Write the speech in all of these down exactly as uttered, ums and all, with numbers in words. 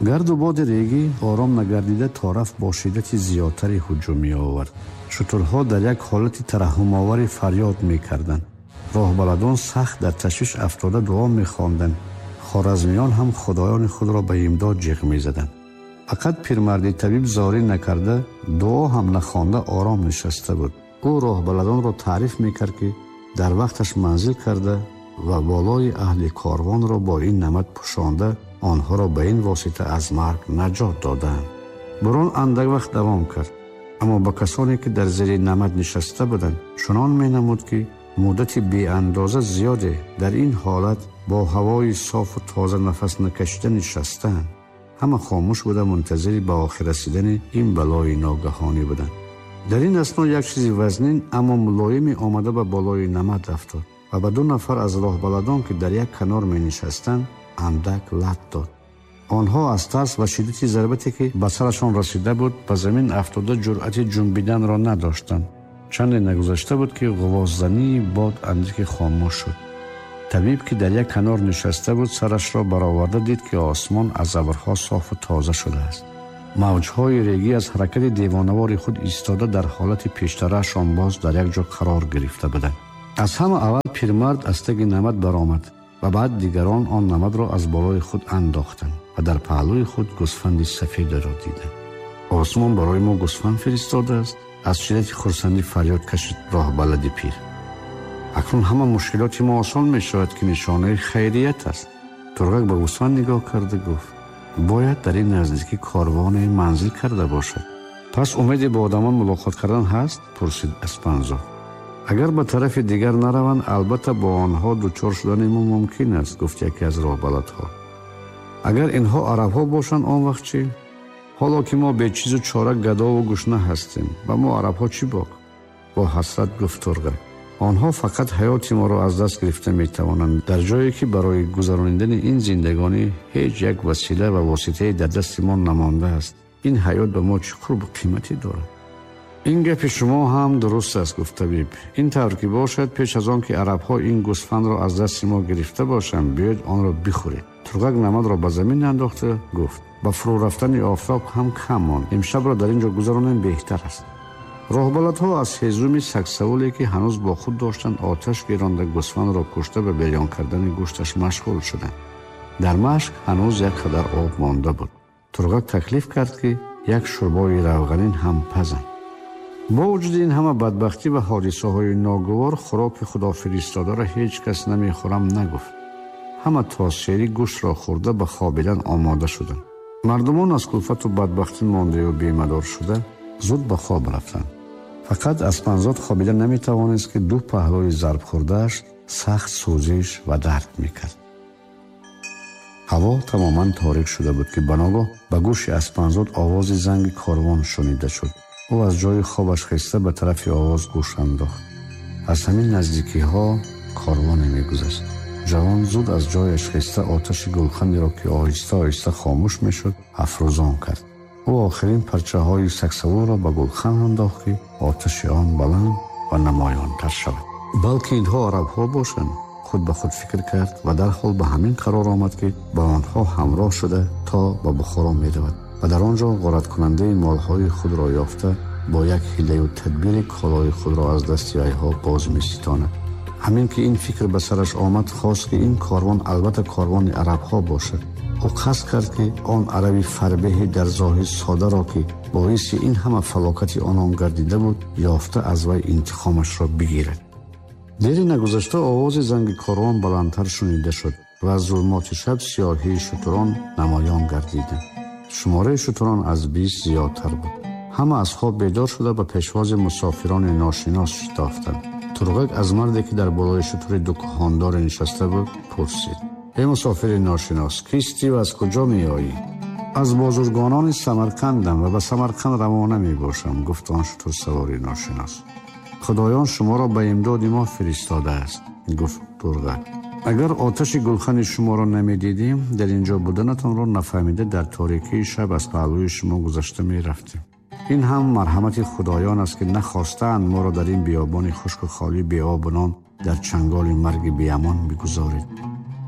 Гарду боди регӣ ором нагардида тораф бо шиддати зиёдтаре ҳуҷум меовард. Шутурҳо дар як ҳолати тараҳҳумоваре фарёд мекарданд. Роҳбаладон сахт дар ташвиш афтода дуо мехонданд. Хоразмиён ҳам худоёни худро ба имдод ҷиғ мезаданд. Фақат пирмарди табиб зорӣ накарда, дуо ҳам нахонда ором нишаста буд. Ӯ роҳбаладонро таъриф мекард, ки дар вақташ манзил карда ва болои аҳли корвонро бо ин намад пӯшонда онҳоро ба ин восита аз марг наҷот доданд. Бурон андак вақт давом кард, аммо ба касоне ки дар зери намад нишаста буданд чунон менамуд, ки муддати беандоза зиёде дар ин ҳолат бо ҳавои софу тоза нафас накашида нишастаанд. Ҳама хомӯш буда мунтазири ба охир расидани ин балои ногаҳонӣ буданд. Дар ин асно як чизи вазнин, аммо мулоиме омада ба болои намад афтод ва ба ду нафар аз роҳбаладон, ки дар як канор менишастанд, андак лат дод. Онҳо аз тарс ва шиддати зарбате, ки ба сарашон расида буд, ба замин афтода ҷуръати ҷунбиданро надоштанд. Чанде нагузашта буд, ки ғувоззании бод андаке хомӯш шуд. Табиб, ки дар як канор нишаста буд, сарашро бароварда дид, ки осмон аз абрҳо софу тоза шудааст. Мавҷҳои регӣ аз ҳаракати девонавори худ истода дар ҳолати пештараашон боз дар як ҷо қарор гирифта буданд. Аз ҳама аввал пирмард аз таги намад баромад ва баъд дигарон он намадро аз болои худ андохтанд ва дар паҳлӯи худ гӯсфанди сафедро диданд. Осмон барои мо гӯсфанд фиристодааст, аз шиддати хурсандӣ фарёд кашид роҳбалади пир. Акнун ҳама мушкилоти мо осон мешавад, ки нишонаи хайрият аст. Турғак ба гӯсфанд нигоҳ карда гуфт: бояд дар ин наздикӣ корвоне манзил карда бошад. Пас умеде бо одамон мулоқот кардан ҳаст? Пурсид Аспанзод. Агар ба тарафи дигар нараванд, албатта бо онҳо дучор шудани мо мумкин аст, гуфт яке аз роҳбаладҳо. Агар инҳо арабҳо бошанд, он вақт чӣ? Ҳоло ки мо бечизу чора гадову гушна ҳастем, ба мо арабҳо чӣ бок? Бо ҳасрат гуфт Турғак. Онҳо фақат ҳаёти моро аз даст гирифта метавонанд, дар ҷое ки барои гузаронидани ин зиндагонӣ ҳеҷ як васила ва воситае дар дасти мо намондааст. Ин ҳаёт ба мо чӣ қурбу қимате дорад? Ин гапи шумо ҳам дуруст аст, гуфт табиб. Ин тавр ки бошад, пеш аз он ки арабҳо ин гӯсфандро аз дасти мо гирифта бошанд, биёед онро бихӯред. Турғак намадро ба замин андохта гуфт: ба фурӯ рафтани офтоб ҳам кам монд. Имшабро дар ин ҷо гузаронем беҳтар аст. Роҳбаладҳо аз ҳезуми сагсаволе, ки ҳанӯз бо худ доштанд, оташ гиронда гӯсфандро кушта ба берён кардани гӯшташ машғул шуданд. Дар машк ҳанӯз як қадар об монда буд. Турғак таклиф кард, ки як шӯрбои равғанин ҳам пазанд. Бо вуҷуди ин ҳама бадбахтӣ ва ҳодисаҳои ногувор, хӯроки худофиристодаро ҳеҷ кас намехӯрам нагуфт. Ҳама то сери гӯштро хӯрда ба хобидан омода шуданд. Мардумон аз кулфату бадбахтӣ мондаю бемадор шуда зуд ба хоб рафтанд. Фақат Аспанзод хобида наметавонист, ки ду паҳлӯи зарбхӯрдааш сахт сӯзиш ва дард мекард. Ҳаво тамоман торик шуда буд, ки баногоҳ ба гӯши Аспанзод овози занги корвон шунида шуд. Ӯ аз ҷои хобаш хеста ба тарафи овоз гӯш андохт. Аз ҳамин наздикиҳо корвоне мегузашт. Ҷавон зуд аз ҷояш хеста оташи гулханеро, ки оҳиста оҳиста хомӯш мешуд, афрӯзон кард. Ӯ охирин парчаҳои сагсавурро ба гулхан андохт, ки оташи он баланд ва намоёнтар шавад. Балки инҳо арабҳо бошанд, худ ба худ фикр кард ва дарҳол ба ҳамин қарор омад, ки ба онҳо ҳамроҳ шуда то ба Бухоро меравад ва дар он ҷо ғораткунандаи молҳои худро ёфта бо як ҳилаю тадбири колои худро аз дасти вайҳо боз меситонад. Ҳамин ки ин фикр ба сараш омад, хост ки ин корвон албатта корвони арабҳо бошад. Ӯ қасд кард, ки он араби фарбеҳи дар зоҳир содаро, ки боиси ин ҳама фалокати онон гардида буд, ёфта аз вай интиқомашро бигирад. Дери нагузашта овози занги корвон баландтар шунида шуд ва аз зулмоти шаб сиёҳии шутурон намоён гардиданд. Шумораи шутурон аз бист зиёдтар буд. Ҳама аз хоб бедор шуда ба пешвози мусофирони ношинос шитофтанд. Турғак аз марде, ки дар болои шутури дукондоре нишаста буд, пурсид: эй мусофири ношинос, кистӣ ва аз куҷо меоӣ? Аз бозургонони Самарқандам ва ба Самарқанд равона мебошам, гуфт он шутурсавори ношинос. Худоён шуморо ба имдоди мо фиристодааст, гуфт Турғак. Агар оташи гулхани шуморо намедидем, дар ин ҷо буданатонро нафаҳмида дар торикии шаб аз паҳлӯи шумо гузашта мерафтем. Ин ҳам марҳамати худоён аст, ки нахостаанд моро дар ин биёбони хушку холӣ беобу нон дар чанголи марги беамон бигузоред.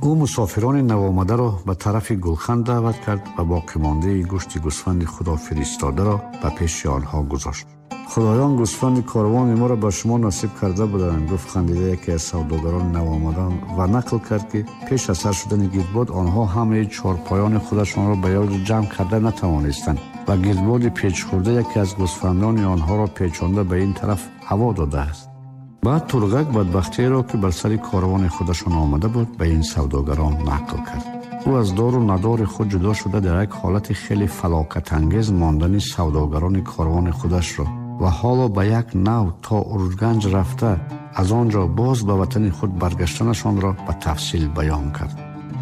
Ӯ мусофирони навомадаро ба тарафи гулхан даъват кард ва боқимондаи гӯшти гӯсфанди худо фиристодаро ба пеши онҳо гузошт. Худоён гӯсфанди корвони моро ба шумо насиб карда буданд, гуфт хандида яке аз савдогарони навомадан ва нақл кард, ки пеш аз сар шудани гирдбод онҳо ҳамаи чорпоёни худашонро ба як ҷо ҷамъ карда натавонистанд ва гирдбоди печхӯрда яке аз гӯсфандони онҳоро печонда ба ин тараф ҳаво додааст. Баъд Турғак бадбахтиеро, ки бар сари корвони худашон омада буд, ба ин савдогарон нақл кард. Ӯ аз дору надори худ ҷудо шуда дар як ҳолати хеле фалокатангез мондани савдогарони корвони худашро ва ҳоло ба як нав то Урганҷ рафта аз он ҷо боз ба ватани худ баргаштанашонро ба тафсил баён кард.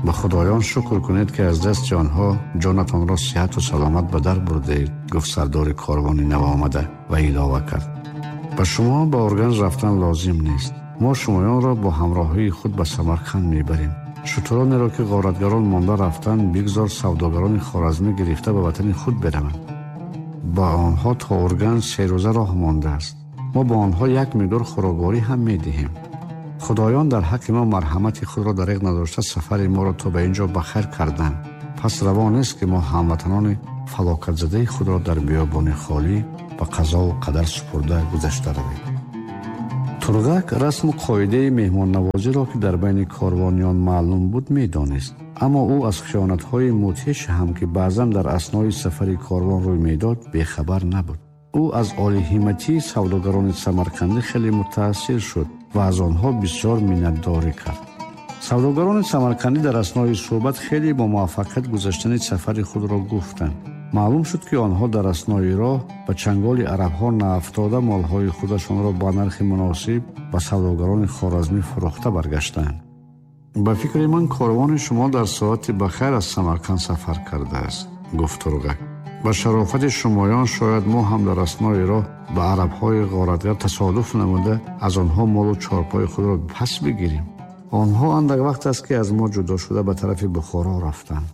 Ба худоён шукр кунед, ки аз дасти онҳо ҷонатонро сиҳату саломат ба дар бурдаед, гуфт сардори корвони навомада ва илова кард: ба шумо ба Урганҷ рафтан лозим нест. Мо шумоёнро бо ҳамроҳии худ ба Самарқанд мебарем. Шутуронеро, ки ғоратгарон монда рафтанд, бигзор савдогарони хоразмӣ гирифта ба ватани худ бираванд. Ба онҳо то Урганҷ се рӯза роҳ мондааст. Мо ба онҳо як миқдор хӯрокворӣ ҳам медиҳем. Худоён дар ҳаққи мо марҳамати худро дареғ надошта сафари моро то ба ин ҷо ба хайр карданд. Пас раво нест, ки мо ҳамватанони фалокатзадаи худро дар биёбони холӣ ба қазову қадар супурда гузашта равем. Турғак расму қоидаи меҳмоннавозиро, ки дар байни корвониён маълум буд, медонист. Аммо ӯ аз хиёнатҳои мудҳиш ҳам, ки баъзан дар аснои сафари корвон рӯй медод, бехабар набуд. Ӯ аз олиҳиматии савдогарони самарқандӣ хеле мутаассир шуд ва аз онҳо бисёр миннатдорӣ кард. Савдогарони самарқандӣ дар аснои суҳбат хеле бо муваффақият гузаштани сафари худро гуфтанд. Маълум шуд, ки онҳо дар аснои роҳ ба чанголи арабҳо наафтода молҳои худашонро ба нархи муносиб ба савдогарони хоразмӣ фурӯхта баргаштанд. Ба фикри ман, корвони шумо дар соати бахайр аз Самарқанд сафар кардааст, гуфт Турғак. Ба шарофати шумоён шояд мо ҳам дар аснои роҳ ба арабҳои ғоратгар тасодуф намуда аз онҳо молу чорпои худро пас бигирем. Онҳо андак вақт аст, ки аз мо ҷудо шуда ба тарафи Бухоро рафтанд.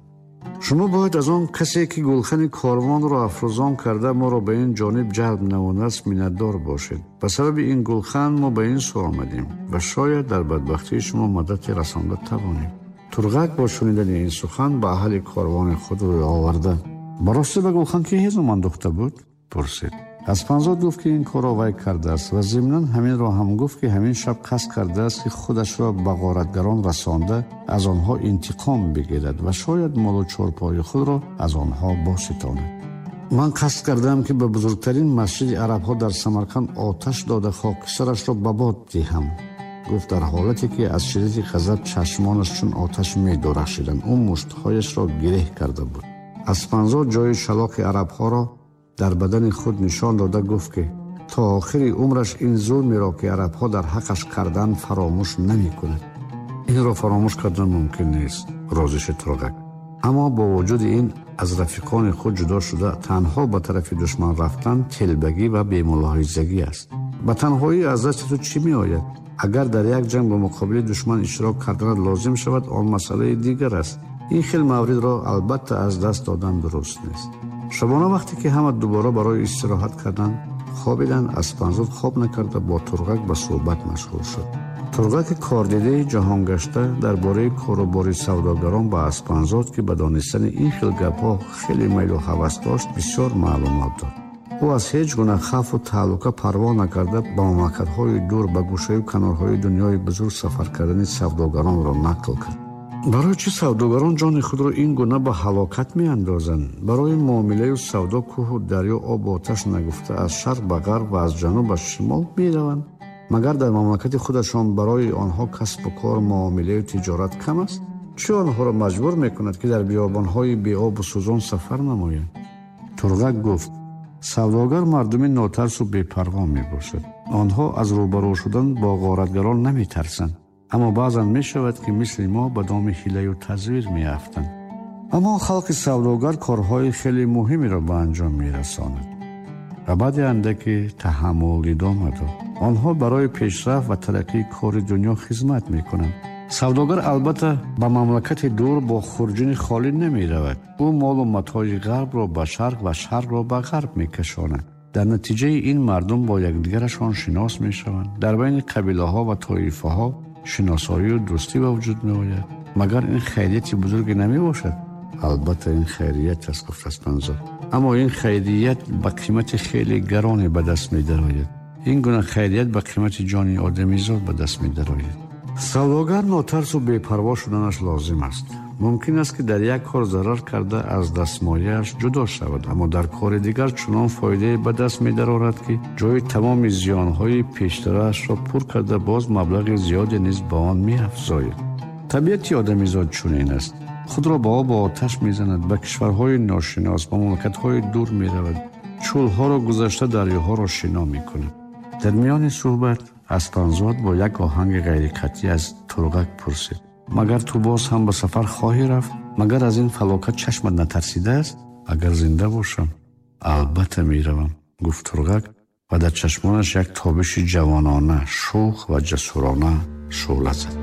Шумо бояд аз он касе, ки гулхани корвонро афрӯзон карда моро ба ин ҷониб ҷалб намудааст, миннатдор бошед. Ба сабаби ин гулхан мо ба ин сӯ омадем ва шояд дар бадбахтии шумо мадате расонда тавонем. Турғак бо шунидани ин сухан ба аҳли корвони худ рӯй оварда: ба ростӣ ба гулхан ки ҳезум андохта буд? Пурсид. Аспанзод гуфт, ки ин корро вай кардааст ва зимнан ҳаминро ҳам гуфт, ки ҳамин шаб қасд кардааст, ки худашро ба ғоратгарон расонда аз онҳо интиқом бигирад ва шояд молу чорпои худро аз онҳо боситонад. Ман қасд кардам, ки ба бузургтарин масҷиди арабҳо дар Самарқанд оташ дода хокистарашро ба бод диҳам, гуфт дар ҳолате, ки аз шиддати ғазаб чашмонаш чун оташ медурахшиданд. Ӯ муштҳояшро гиреҳ карда буд. Аспанзод ҷои шалоқи арабҳоро дар бадани худ нишон дода гуфт, ки то охири умраш ин зулмеро, ки арабҳо дар ҳаққаш карданд, фаромӯш намекунад. Инро фаромӯш кардан мумкин нест, розӣ шуд Турғак. Аммо бо вуҷуди ин аз рафиқони худ ҷудо шуда танҳо ба тарафи душман рафтан телбагӣ ва бемулоҳизагӣ аст. Ба танҳоӣ аз дасти ту чӣ меояд? Агар дар як ҷанг ба муқобили душман иштирок карданат лозим шавад, он масъалаи дигар аст. Ин хел мавридро албатта аз даст додан дуруст нест. Шабона вақте ки ҳама дубора барои истироҳат кардан хобиданд, Аспанзод хоб накарда бо Турғак ба суҳбат машғул шуд. Турғаки кордидаи ҷаҳонгашта дар бораи корубори савдогарон ба Аспанзод, ки ба донистани ин хел гапҳо хеле майлу ҳавас дошт, бисёр маълумот дод. Ӯ аз ҳеҷ гуна хавфу таҳлука парво накарда ба мамлакатҳои дур, ба гӯшаю канорҳои дунёи бузург сафар кардани савдогаронро нақл кард. Барои чӣ савдогарон ҷони худро ин гуна ба ҳалокат меандозанд? Барои муомилаю савдо кӯҳу дарё, обу оташ нагуфта аз шарқ ба ғарб ва аз ҷануб ба шимол мераванд. Магар дар мамлакати худашон барои онҳо касбу кор, муомилаю тиҷорат кам аст? Чӣ онҳоро маҷбур мекунад, ки дар биёбонҳои беобу сӯзон сафар намоянд? Турғак гуфт: савдогар мардуми нотарсу бепарво мебошад. Онҳо аз рӯбарӯ шудан бо ғоратгарон наметарсанд. Аммо баъзан мешавад, ки мисли мо ба доми ҳилаю тазвир меафтанд. Аммо халқи савдогар корҳои хеле муҳимеро ба анҷом мерасонад ва баъди андаке таҳаммул идома дод. Онҳо барои пешрафт ва тараққии кори дунё хизмат мекунанд. Савдогар албатта ба мамлакати дур бо хурҷини холӣ намеравад. Ӯ молу матои ғарбро ба шарқ ва шарқро ба ғарб мекашонад. Дар натиҷаи ин мардум бо якдигарашон шинос мешаванд. Дар байни қабилаҳо ва тоифаҳо шиносоию дӯстӣ ба вуҷуд меояд. Магар ин хайрияти бузурге намебошад? Албатта ин хайрият аст, гуфт Аспанзод. Аммо ин хайрият ба қимати хеле гароне ба даст медарояд. Ин гуна хайрият ба қимати ҷони одамизод ба даст медарояд. Савдогар нотарсу бепарво шуданаш лозим аст. Мумкин аст, ки дар як кор зарар карда аз дастмояаш ҷудо шавад, аммо дар кори дигар чунон фоидае ба даст медарорад, ки ҷои тамоми зиёнҳои пештараашро пур карда, боз маблағи зиёде низ ба он меафзояд. Табиати одамизод чунин аст. Худро ба обу оташ мезанад, ба кишварҳои ношинос, ба мамлакатҳои дур меравад, чӯлҳоро гузашта дарёҳоро шино мекунад. Дар миёни суҳбат Аспанзод бо як оҳанги ғайриқатъӣ аз Турғак пурсид: магар ту боз ҳам ба сафар хоҳӣ рафт? Магар аз ин фалокат чашмат натарсидааст? Агар зинда бошам, албатта меравам, гуфт Турғак ва дар чашмонаш як тобиши ҷавонона, шӯх ва ҷасурона шӯъла зад.